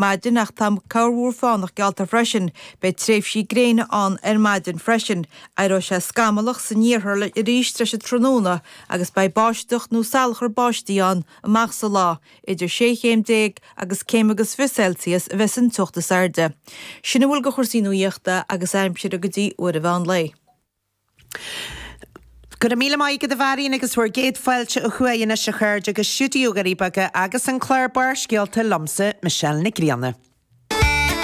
Maidin ach tá corrmhúr fánach geallta freisin. Beidh tréimhsí gréine ann ar maidin freisin. Éireoidh sé scamallach san iarthar arís tar éis an tráthnóna agus beidh báisteach nó salachar báistí ann amach sa lá. Idir sé chéim déag agus céim agus 20 Celsius a bheas an teocht is airde. Sin a bhfuil de chúrsaí nuaíochta agus aimsire go dtí uair an mheán lae. Go raibh míle maith agat a Mharion agus bhur gcéad fáilte ó thuaidh anois a chairde go Stiúideo Dhoirí Beaga agus an clár Barrscéalta liomsa, Michelle Nic Grianna.